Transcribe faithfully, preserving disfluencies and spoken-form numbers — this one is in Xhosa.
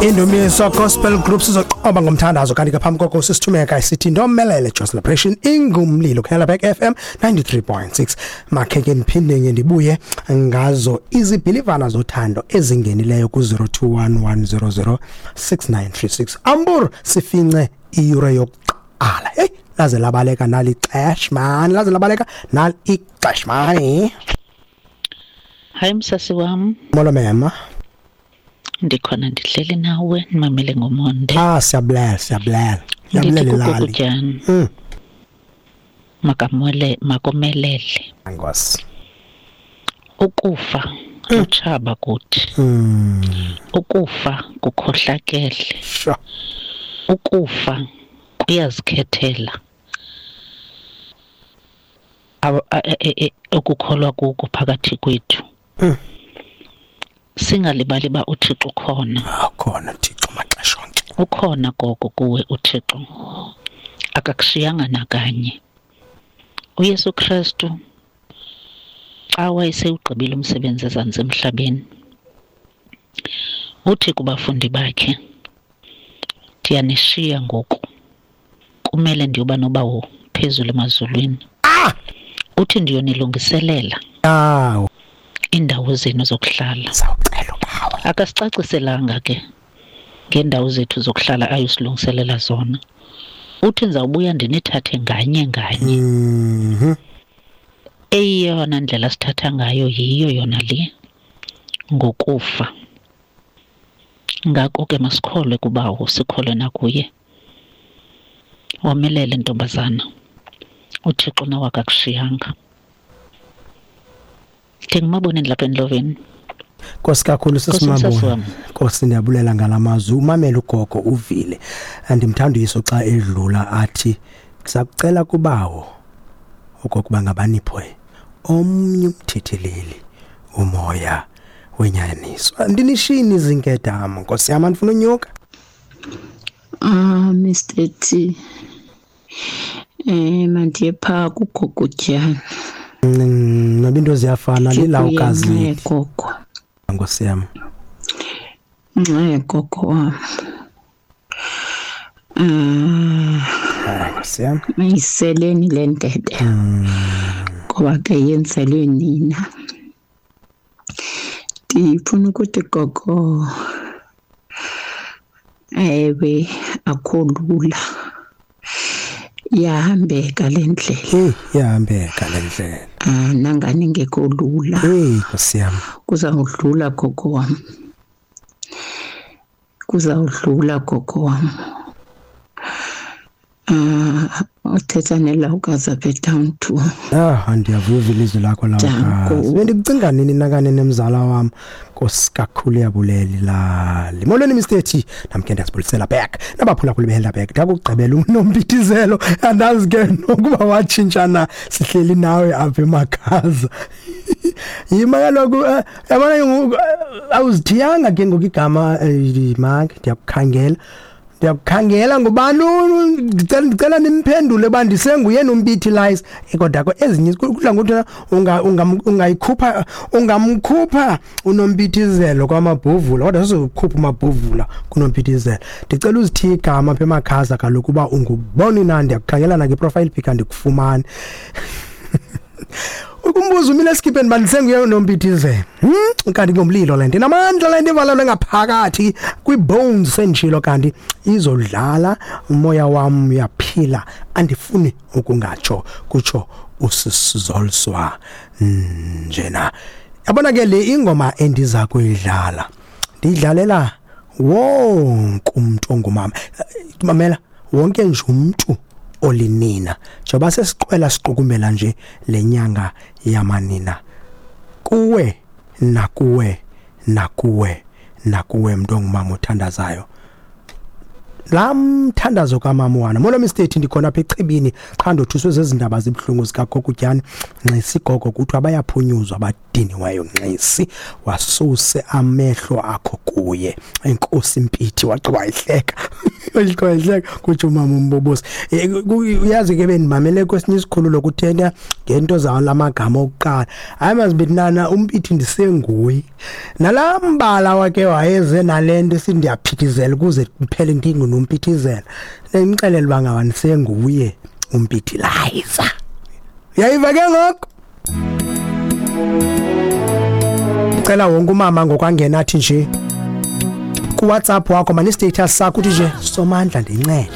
Indumiso Gospel Group sizoqoba ngomthandazo, kanti ke phambi koko sisithumeka isithi ndomelele Joy Celebration ingumlilo Helderberg F M ninety-three point six. Makhe ke ndiphinde ngibuye ngazo izibhilivana zothando ezingenileyo ku zero two one one zero zero six nine three six. Ambur sifince iyure yokuqala. Hey, laze labaleka nali ixesha man, laze labaleka nali ixesha man. Hayi msasi wam. Molo mema. Ndikhona ndihleli nawe ndimamele ngomonde. Ah, siyabulela, siyabulela. Siyabulela lali. Mm. Makamwele makomelele. Nkosi. Ukufa utshaba kuthi. Mm. Ukufa kukhohlakele. Sure. Ukufa kuyazikhethela. Okukholwa kuko phakathi kwethu. Mm. Singalibali ba uThixo ukhona. Akhona uThixo maxesha onke. Ukhona gogo kuwe uThixo. Akakushiyanga nakanye. uYesu Kristu xa wayesewugqibile umsebenzi ezantsi emhlabeni, uthi kubafundi bakhe, ndiyanishiya ngoku, kumele ndiyoba nobawo phezulu emazulwini. Ah! Uthi ndiyonilungiselela ah indawo zenu zokuhlala. Sawucela ubawo. Akasicaciselanga ke ngendawo zethu zokuhlala ayosilungiselela zona. Uthi ndizawubuya ndinithathe nganye nganye. Mhm. Eyona ndlela sithatha ngayo yiyo yona le, ngokufa. Ngako ke masikholwe kubawo, sikholwe nakuye. Womelele ntombazana, uThixo nawe akakushiyanga. Ndingumaboneni lapha endloveni. Nkosi kakhulu sisimabona. Nkosi ndiyabulela ngalamazwi. Umamela ugogo uvile. Andimthanda uYesu xa edlula athi siyakucela kubawo okokuba ngabaniphe omnye umthetheleli umoya wenyaniso. Andinishini izinkedama Nkosi yami, andifuna unyuka. Ah Mister T. Eh mandiye pha kugogo Tyana. Noba into ziyafana lilawukazi gogo. Nkosi yami. Nxe gogo wami. Ah Nkosi yami. Mayiseleni le ndebe. Ngoba ke yenzelwe nina. Ndifuna ukuthi gogo ewe akho lula. Yahambeka le ndlela. Hey, yahambeka le ndlela. Ah nangani ngekho lula. Hey, Nkosi yami. Kuzawudlula gogo wami. Kuzawudlula gogo wami. Ah uthetha nelawukazi apha town two. Ah ndiyavuva ilizwi lakho lawukazi. Bendikucinga nini nakane nemzala wami. Nkosi kakhulu yabulela lali. Molweni Mister T, namke ndiyazibulisela back. Nabaphulaphuli beHelderberg ndakugqibela unompithizelo andazi ke nokuba watshintshana sihleli nawe apha emakhaza. Yima kaloku yabona awuzithiyanga ke ngoku igama mark ndiyakukhangela. Ndiyakukhangela ngubani ndicela ndicela nimphendule ba ndisenguye nompithi lies kodwa ke ezinye kudla ngokuthi unga ungayikhupha ungamkhupha unompithizelo kwamabhuvula kodwa sizokhupha umabhuvula kunompithizelo. Ndicela uzithiye igama apha emakhaza kaloku uba unguboni na, ndiyakukhangela na ngeprofile pic andikufumani. Ukumbuza umile esikhipeni bandisenguye nompithizelo. Hmm kanti ngomlilo le nto inamandla le nto ivalelwe ngaphakathi kwi-bones sendishilo kanti izodlala umoya wam uyaphila andifuni ukungatsho kutsho usisizolswa njena. Yabona ke le ingoma endiza kuyidlala ndiyidlalela wonke umuntu ongumama, mamela wonke nje umuntu olinina njengoba sesiqwela siqukumela nje lenyanga yamanina. Kuwe nakuwe nakuwe nakuwe mntu ongumama othandazayo, la mthandazo kamama wana. Molo Mister T, ndikhona apha echibini qha ndothuswe zezindaba zibhlungu zikagogo Tyana. Nxisi gogo kuthiwa bayaphunyuzwa abadiniweyo. Nxisi wasuse amehlo akho kuye. Enkosi Mpithi waxa wayihleka. Uyiqhweshe kutsho umama umbobosi. Eh, ku- uyazi ke bendimamele kwesinye isikhululo kuthetha ngento zalamagama okuqala. Hayi mazibinana umpithi ndisenguye. Nalambala wakhe wayeze nalento sindiyaphithizela ukuze kuphele ndingunomphithizela. Ndimxelele uba ngaba ndisenguye umpithilayiza. Uyayiva ke ngoku? Cela wonke umama ngokwangena athi nje kuWhatsApp wakho mani status sakho uthi nje Somandla ndincede.